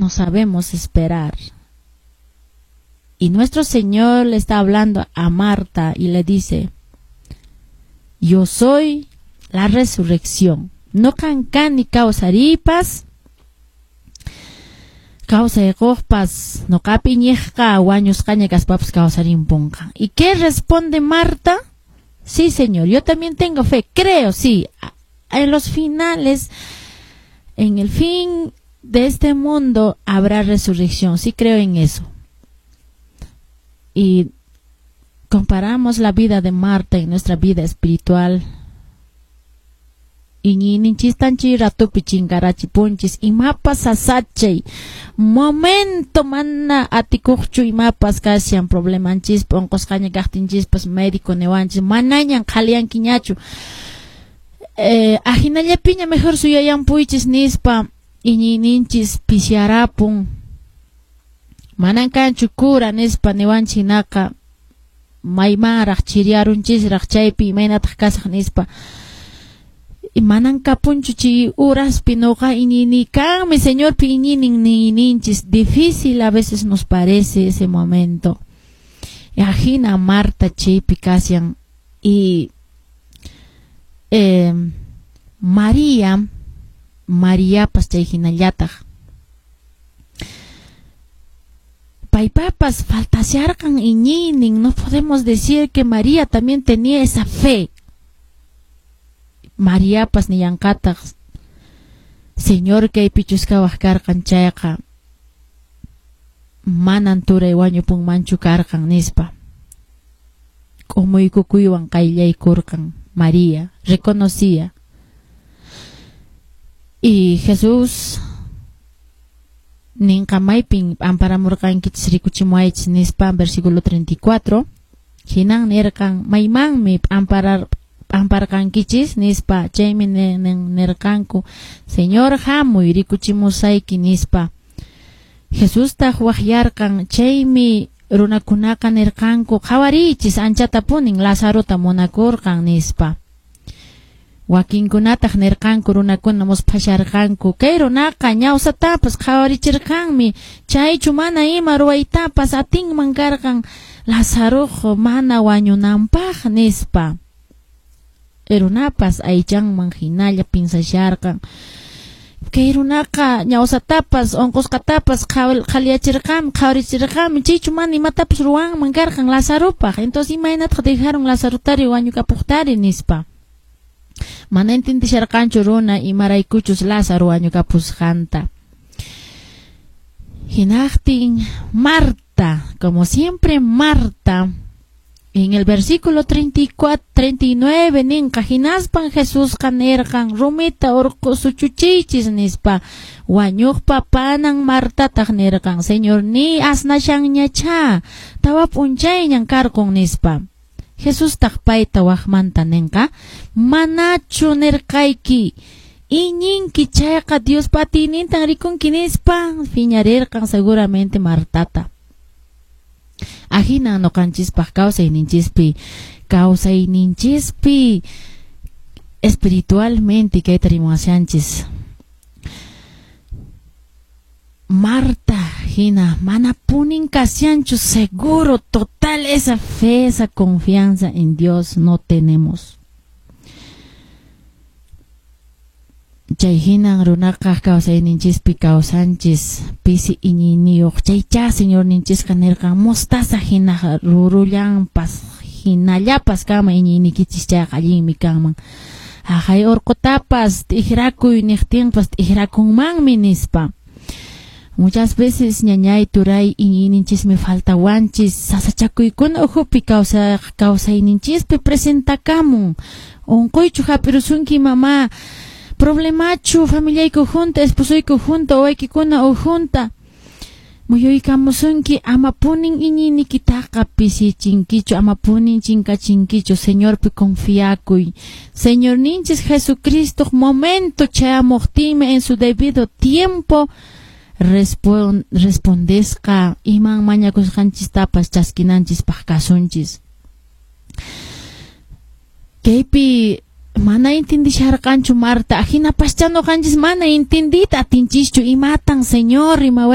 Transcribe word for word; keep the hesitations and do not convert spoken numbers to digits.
No sabemos esperar. Y nuestro Señor le está hablando a Marta y le dice: "Yo soy la resurrección. Noqan kani kawsariypas, kawsaykuqpas, noqapi iñiqqa wañusqaña kaspapas kawsarimpunqa". ¿Y qué responde Marta? "Sí, Señor, yo también tengo fe, creo, sí. En los finales, en el fin de este mundo habrá resurrección, sí creo en eso". Y comparamos la vida de Marta en nuestra vida espiritual. Iñiyninchistan chay ratupi chinkarachipunchis, imapas sasachay momento mana atikuqchu, imapas kashan problemanchispa, unqusqaña kaqtinchispas médico niwanchis manañan qhaliyankiñachu, eh, ahinallapiña mejor suyayanpuychis nispa, iñiyninchis pisiyarapun. Manan kanchu cura nispa niwanchis hinaqa maymanraq chiriyarunchisraq, chaypi imaynataq kasaq nispa, manan kapunchu chay uraspi noqa iñini kanmi Señorpi iñinin niyninchis. Difícil a veces nos parece ese momento. Ahina Marta chaypi kashan y eh, María Mariapas chay hinallataq paypapas faltasharqan iñiynin. No podemos decir que María también tenía esa fe. Mariapas nillanqataq: "Señor kaypichus kawaq karqan chayqa manan turay wañupunmanchu karqan", nispa. K'umuykukuywan qayllaykurqan María, reconocía. Y Jesús ninqa: "Maypin p'amparamurqankichis, rikuchimuwaychis", nispa, versículo treinta y cuatro. Hinan nirqan: "Maymanmi p'amparar p'amparqankichis?", nispa. Chaymi nirqanku: "Señor, hamuy, rikuchimusayki", nispa. Jesustaq waqyarqan. Chaymi runakunaqa nirqanku: "Qhawariychis, anchatapunin Lazarota munakurqan", nispa. Wakinkunataq nirqanku, runakuna musphasharqanku: "Kay runaqa ñawsatapas qhawarichirqanmi, chaychu mana ima ruwaytapas atinman karqan Lazaruq mana wañunanpaq?", nispa. Runapas aychanman hinalla pinsasharqan: "Kay runaqa ñawsatapas unqusqatapas qhaliyachirqanmi, qhawarichirqanmi, chaychu mana imatapas ruwanman karqan Lazaropaq? Entonces, imaynataq dejaron Lazarotari wañukapuqtari?", nispa. Mana entendisharqanchu runa imaraykuchus Lázaro wañukapusqanta. Hinaqtin Marta, como siempre Marta, en el versículo treinta y cuatro, treinta y nueve ninqa: hinaspan Jesusqa nirqan: "Rumita urqu suchuchiychis", nispa. Wañuqpa panan Martataq nirqan: "Señorníy, asnashanñachá, tawa p'unchayñan karqun", nispa. Jesustaq payta waqmanta ninqa: "Manachu nirqayki, iñinki chayqa Diospa atiynintan rikunki?", nispa. Phiñarirqan seguramente Martata. Ahina noqanchispaq kawsayninchispi kawsayninchispi espiritualmente kayta rimashanchis. Marta hina mana punin kashanchu seguro, total esa fe, esa confianza en Dios no tenemos. Chay hinan runaqa kawsayninchispi kawsanchis pisi iñiyniyuq. Chaychá Señorninchisqa nirqan: "Mostaza hina rurullanpas hinallapas kanman iñiynikichis chayqa allinmi kanman. Haqay urqutapas t'ikrakuy niqtinpas t'ikrakunmanmi", nispa. Muchas veces, ñañay, turay, iñiyninchismi faltawanchis, sasachakuykuna ukhupi kawsa kawsayninchispi presentakamun. Unquychu hap'irusunki, mamá, problemachu familiayku junta, esposoyku junta, wawaykikuna ujunta muyuykamusunki, ama punin iñiyniykitaqa pisichinkichu, ama punin chinkachinkichu. Señorpi confiakuy. Señorninchis Jesucristo momento chayamuqtinmi, en su debido tiempo respon respondesqa iman mañakusqanchistapas chaskinanchispaq kasunchis. Kaypi mana entendisharqanchu Marta, ahinapaschá ñuqanchis mana entendiyta atinchischu imatan Señor rimawa.